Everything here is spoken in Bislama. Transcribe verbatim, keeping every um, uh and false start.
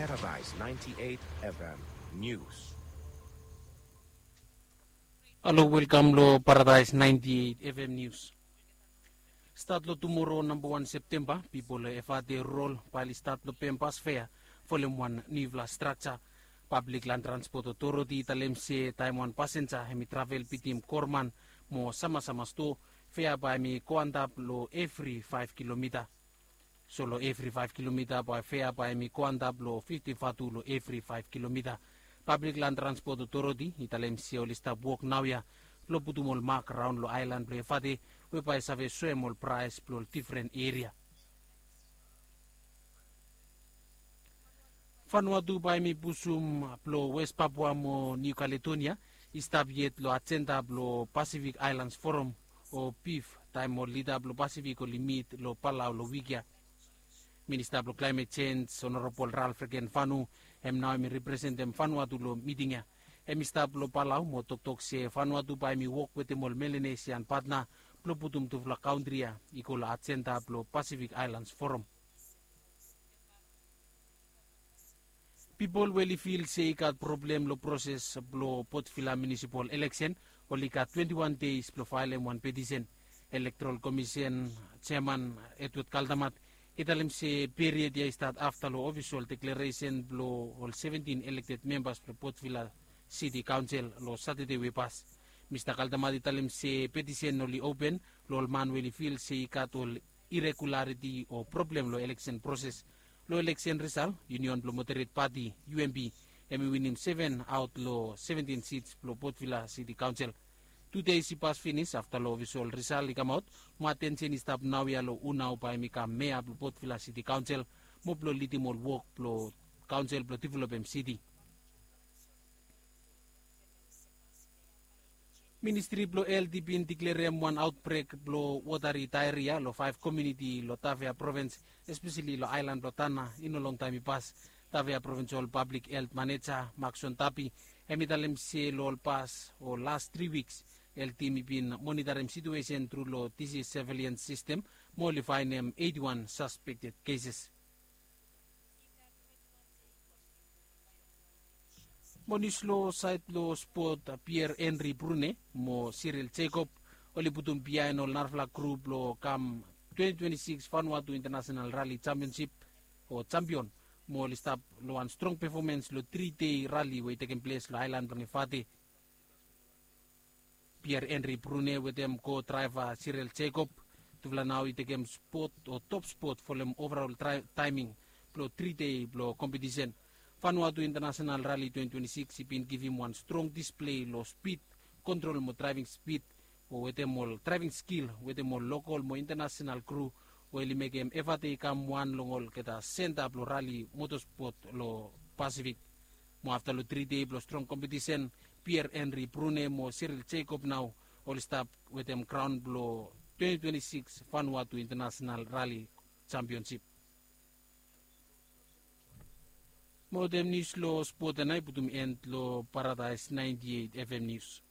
Paradise ninety-eight F M News. Halo, welkam lo Paradise ninety-eight F M News. Stat lo tumoro namba wan Septemba, pipol lo Efate Rurol bae oli stat lo pem bas fea folem wan niufala strakja. Pablik Lan Transpot Otoriti i talem se taem wan pasenja hemi travel bitim Korman mo Samasama stoa, fea bae hemi go antap lo evri faef kilomita. So lo evri faef kilomita bae fea bae hemi go antap lo fifti vatu lo evri faef kilomita. Pablik Lan Transpot Otoriti i talem se oli stap wok naoia blo putum ol mak raon lo aelan blo Efate, we bae save soem ol praes blo ol difren eria. Vanuatu bae hemi pusum blo Wes Papua mo Niu Kaledonia i stap yet lo ajenda blo Pasifik Aelans Foram o pif, taem ol lida blo Pasifik oli mit lo Palau lo wik ya. Minista blo Klaemet Jenj, Honorabol Ralph Rekenvanu, hem nao hemi representem Vanuatu lo miting ya. Hemi stap lo Palau mo toktok se Vanuatu bae hemi wok wetem ol Melanesian patna blo putum tufala kantri ya i go lo ajenda blo Pasifik Aelans Foram. Pipol we oli fil se i gat problem lo proses blo Port Vila Munisipal Eleksen, oli gat twenti wan deis blo faelem wan petisen. Elektorol Komisen jeaman Edward Kaldamat i talem se period ya i stat afta lo ofisol deklaresen blo ol seventin elekted membas blo Port Vila Siti Kaonsel lo Satade we i pas. Mista Kaldamat i talem se petisen oli open lo ol man we oli fil se i gat ol iregulariti o problem lo eleksen proses. Lo eleksen risal, Union blo Moderate Pati, U M P, hemi winim seven aot lo seventin sits blo Port Vila Siti Kaonsel. Tu deis i pas finis afta lo ofisol risal i kamaot, mo atensen i stap naoia lo hu nao bae hemi kam mea blo Port Vila Siti Kaonsel mo blo lidim ol wok blo kaonsel blo developem siti. Ministri blo Helt i bin diklerem wan aotbrek blo wotari daeria lo faef komuniti lo Tafea provins, espeseli lo aelan blo Tanna, i no longtaem i pas. Tafea Provinsol Pablik Helt Maneja Makson Tapi hemi talem se lo ol pas o las tri wiks, Helt tim i bin monitarem situesen tru lo disis surveilans sistem mo oli faenem eiti wan saspekted keses. Mo nius lo saed lo spot, Pierre Henry Brune mo Cyril Jacob oli putum biaen ol narafala grup blo kam twenti twenti sikis Vanuatu International Rally Championship o jampion, mo oli stap lo wan strong pefomens lo tri dei rali we i tekem ples lo aelan blong Efate. Pierre Henry Brune wetem ko draeva Cyril Jacob, tufala nao i tekem spot o top spot folem overol taeming blo tri dei blo kompetisen. Vanuatu International Rally twenti twenti sikis i bin givim wan strong displei lo spid kontrol mo draeving spid, o wetem ol draeving skil wetem ol lokol mo internasenal kru, we oli mekem Efate i kam wan long olgeta senta blo rali motospot lo Pasifik. Mo afta lo tri dei blo strong kompetisen, Pierre Henry Brune mo Cyril Jacob nao oli stap wetem kraon blo twenti twenti sikis Vanuatu International Rally Championship. Mo wetem nius lo spot ya nao i putum en lo Paradise naenti eit F M Nius.